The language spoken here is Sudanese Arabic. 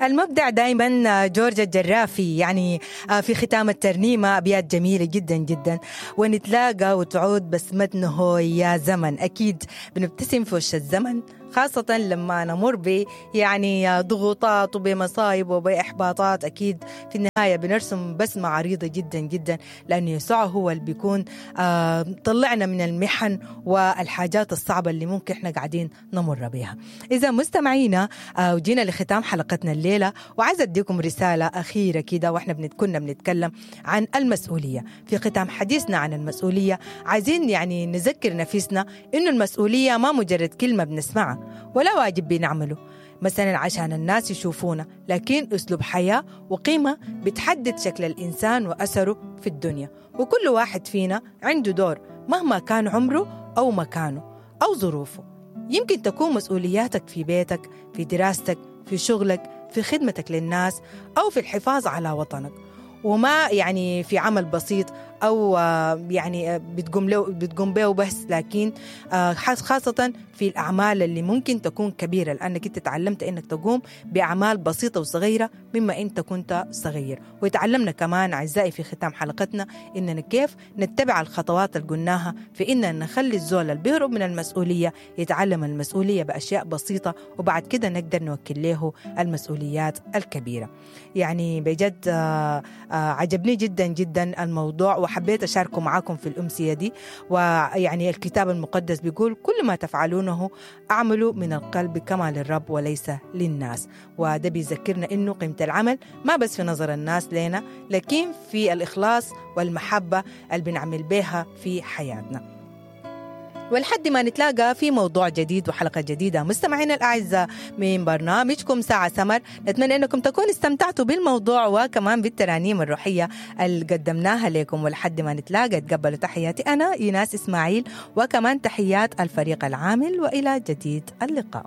المبدع دائما جورج الجرافي، يعني في ختام الترنيمة أبيات جميلة جدا جدا. ونتلاقى وتعود بسمتنا هو يا زمن. أكيد بنبتسم في وش الزمن، خاصة لما نمر ب يعني ضغوطات وبمصايب وبإحباطات. أكيد في النهاية بنرسم بسمة عريضة جدا جدا، لأن يسوع هو اللي بيكون طلعنا من المحن والحاجات الصعبة اللي ممكن احنا قاعدين نمر بها. إذا مستمعينا، وجينا لختام حلقتنا الليلة، وعايزة أديكم رسالة أخيرة كده، وإحنا كنا بنتكلم عن المسؤولية. في ختام حديثنا عن المسؤولية، عايزين يعني نذكر نفسنا إنه المسؤولية ما مجرد كلمة بنسمعها ولا واجب بنعمله مثلا عشان الناس يشوفونا، لكن أسلوب حياة وقيمة بتحدد شكل الإنسان وأثره في الدنيا. وكل واحد فينا عنده دور مهما كان عمره أو مكانه أو ظروفه. يمكن تكون مسؤولياتك في بيتك، في دراستك، في شغلك، في خدمتك للناس، أو في الحفاظ على وطنك، وما يعني في عمل بسيط أو يعني بتقوم به بس، لكن خاصة في الأعمال اللي ممكن تكون كبيرة، لأنك أنت تعلمت أنك تقوم بأعمال بسيطة وصغيرة مما أنت كنت صغير. وتعلمنا كمان أعزائي في ختام حلقتنا إننا كيف نتبع الخطوات اللي قلناها في إننا نخلي الزول اللي بيهرب من المسؤولية يتعلم المسؤولية بأشياء بسيطة، وبعد كده نقدر نوكل له المسؤوليات الكبيرة. يعني بجد عجبني جدا جدا الموضوع، وحبيت أشاركه معاكم في الأمسية دي. ويعني الكتاب المقدس بيقول كل ما تفعلونه أعملوا من القلب كما للرب وليس للناس. وده بيذكرنا إنه قيمة العمل ما بس في نظر الناس لنا، لكن في الإخلاص والمحبة اللي بنعمل بها في حياتنا. ولحد ما نتلاقى في موضوع جديد وحلقة جديدة مستمعينا الأعزاء من برنامجكم ساعة سمر، نتمنى أنكم تكونوا استمتعتوا بالموضوع وكمان بالترانيم الروحية اللي قدمناها لكم. ولحد ما نتلاقى تقبلوا تحياتي أنا إيناس إسماعيل، وكمان تحيات الفريق العامل، وإلى جديد اللقاء.